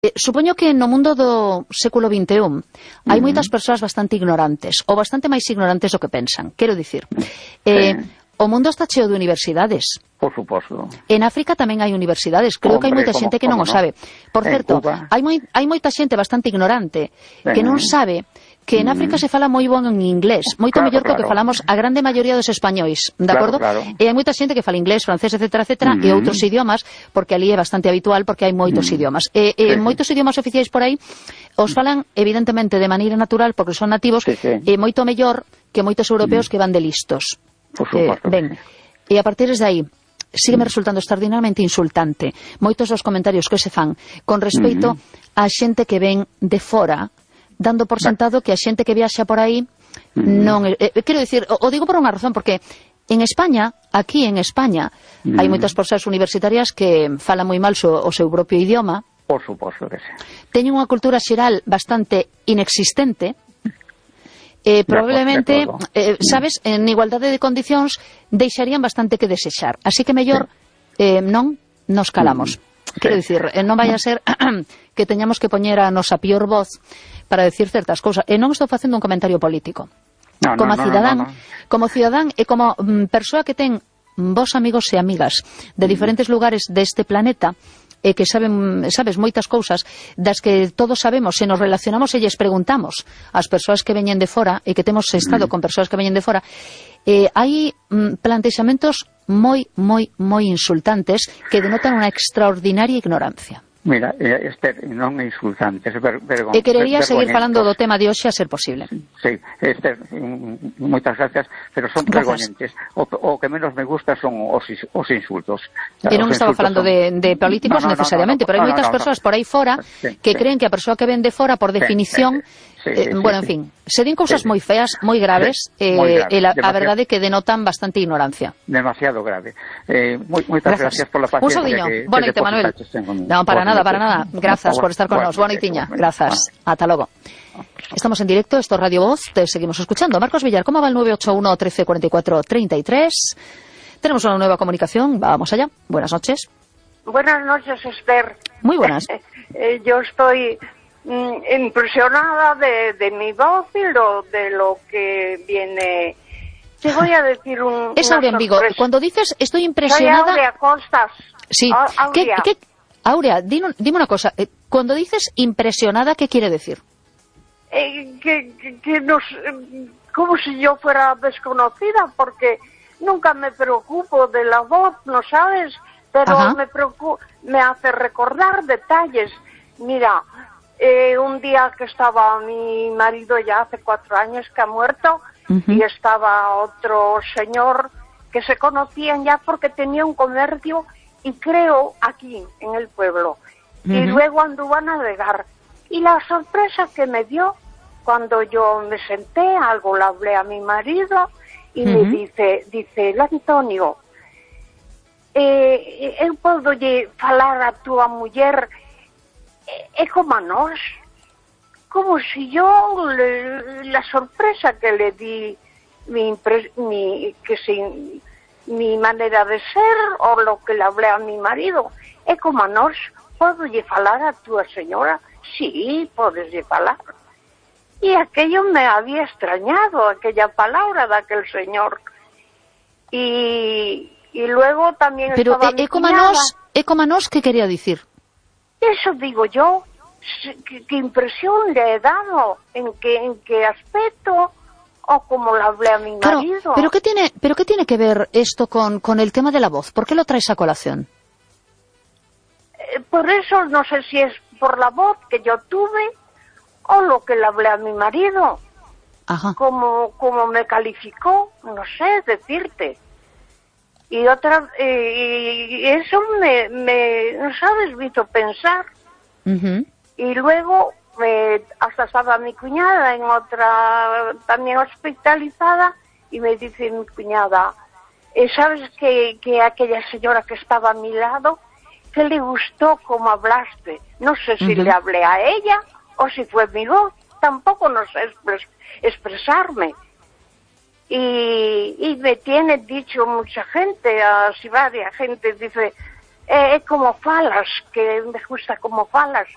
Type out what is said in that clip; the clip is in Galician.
Supoño que no mundo do século XXI hai moitas persoas bastante ignorantes, ou bastante máis ignorantes do que pensan. Quero dicir, o mundo está cheo de universidades. Por suposto. En África tamén hai universidades. Creo que hai moita xente que non o sabe. Por certo, hai moita xente bastante ignorante que non sabe que en África se fala moi bon en inglés, moito mellor que o que falamos a grande maioría dos españois, de acordo? E hai moita xente que fala inglés, francés, etcétera, e outros idiomas, porque ali é bastante habitual, porque hai moitos idiomas. Moitos idiomas oficiais por aí os falan, evidentemente, de maneira natural, porque son nativos, e moito mellor que moitos europeos que van de listos. Por suposto. Ben, e a partir de aí, sígueme resultando extraordinariamente insultante moitos dos comentarios que se fan con respeito a xente que ven de fora, dando por sentado que a xente que viaxa por aí non... quero dicir, o digo por unha razón, porque en España, aquí en España, hai moitas persoas universitarias que falan moi mal o seu propio idioma. Por suposto que sí. Teñen unha cultura xeral bastante inexistente. Probablemente, sabes, en igualdade de condicións deixarían bastante que desexar. Así que mellor non nos calamos. Quero dicir, non vai a ser que teñamos que poñer a nosa pior voz para decir certas cousas. E non estou facendo un comentario político. Como cidadán e como persoa que ten vos amigos e amigas de diferentes lugares deste planeta, e que saben, sabes, moitas cousas das que todos sabemos, se nos relacionamos e lles preguntamos ás persoas que veñen de fora, e que temos estado con persoas que veñen de fora, hai plantexamentos moi insultantes que denotan unha extraordinaria ignorancia. Mira, Esther, non é insultante, e querería seguir falando do tema de hoxe a ser posible. Sí, Esther, moitas gracias, pero son vergoñentes. O que menos me gusta son os insultos. E non estaba falando de políticos necesariamente, pero hai moitas persoas por aí fora que creen que a persoa que ven de fora, por definición, bueno, en fin, se din cousas moi feas, moi graves, e a verdade é que denotan bastante ignorancia. Demasiado grave. Moitas gracias por la paciencia. Un saudiño. Boa noite, Manuel. Non, para nada. Grazas por estar con nos. Boa noitiña. Grazas. Ata logo. Estamos en directo, esto es Radio Voz, te seguimos escuchando. Marcos Villar, ¿cómo va el 981 13 44 33? Tenemos una nueva comunicación, vamos allá. Buenas noches. Buenas noches, Esther. Muy buenas. Yo estoy impresionada de mi voz y de lo que viene. Te voy a decir Es Aurea en Vigo. Cuando dices estoy impresionada... Soy Aurea Costas. Sí. Aurea, dime una cosa. Cuando dices impresionada, ¿qué quiere decir? Como si yo fuera desconocida, porque nunca me preocupo de la voz, ¿no sabes? Pero me hace recordar detalles. Mira, un día que estaba mi marido, ya hace 4 años que ha muerto, y estaba otro señor que se conocían ya porque tenía un comercio, y creo aquí en el pueblo, y luego anduvo a navegar, y la sorpresa que me dio cuando yo me senté, algo le hablé a mi marido, y me dice el Antonio, eu podo lle falar a túa muller como a nós, como si yo la sorpresa que le di mi manera de ser, o lo que le hablé a mi marido, como a nós, podo lle falar a túa señora? Sí, podes lle falar. Y aquello me había extrañado, aquella palabra de aquel señor. Y luego también pero estaba mi cuñada. Como a nós, ¿qué quería decir? Eso digo yo. ¿Qué impresión le he dado? ¿En qué aspecto? ¿O como le hablé a mi marido? Pero ¿qué tiene que ver esto con el tema de la voz? ¿Por qué lo traes a colación? Por eso no sé si es por la voz que yo tuve o lo que le hablé a mi marido. Ajá. Como me calificó, no sé decirte. Y eso me ¿sabes? Me hizo pensar. Y luego hasta estaba mi cuñada en otra, también hospitalizada, y me dice mi cuñada, ¿sabes que aquella señora que estaba a mi lado, que le gustó cómo hablaste? No sé si le hablé a ella o si fue mi voz, tampoco no sé expresarme. Y me tiene dicho mucha gente, así varias gente, dice, como falas, que me gusta como falas.